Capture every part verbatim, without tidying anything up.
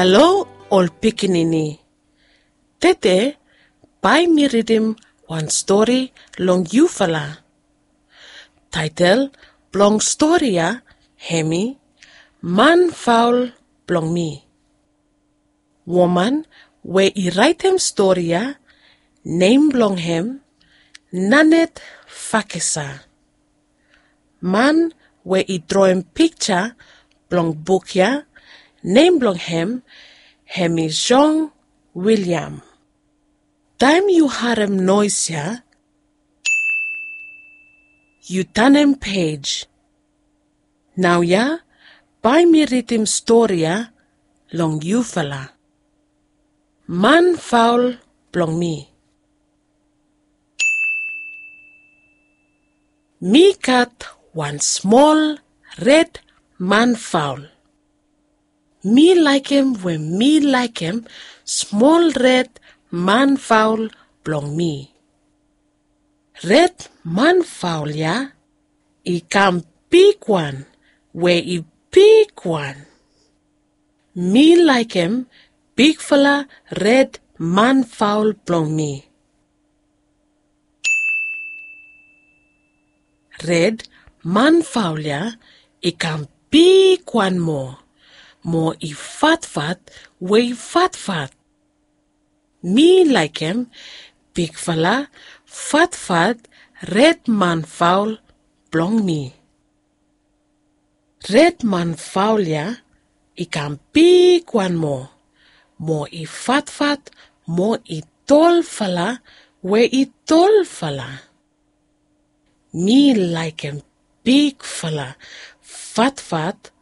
Halo ol pikinini. Tede bae mi ridim wan stori long yufala. Taetol blong stori ya hemi Man Faol Blong Mi. Woman we i raetem stori ya, nem blong hem Nanette Farquhar. Man we i droem pikja blong buk ya, nem blong hem hemi Jean William. Taem yu harem noes ya, yu tanem pej. Naoia bae mi ridim stori ya long yufala. Man Faol Blong Mi. Mi gat wan smol red manfaol. Mi laekem we mi laekem smol red manfaol blong mi. Red manfaol ya i kam bigwan we i bigwan. Mi laekem bigfala red manfaol blong mi. Red manfaol ya i kam bigwan moa, mo i fatfat we i fatfat. Mi laekem bigfala fatfat red manfaol blong mi. Red manfaol ya i kam bigwan moa, mo i fatfat, mo i tolfala we i tolfala. Mi laekem bigfala fatfat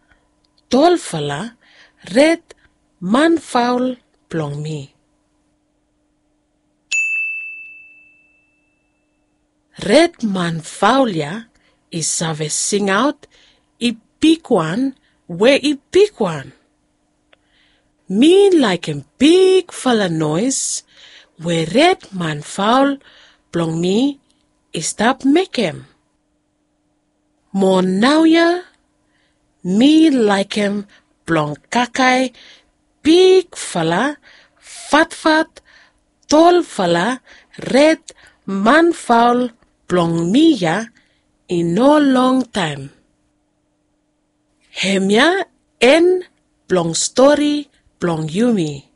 tolfala red manfaol blong mi. Red manfaol ya i save singaot i bigwan we i bigwan. Mi laekem bigfala noes we red manfaol blong mi i stap mekem. Mo naoia mi laekem blong kakae bigfala fatfat tolfala red manfaol blong mi ya i no longtaem. Hemia en blong stori blong yumi.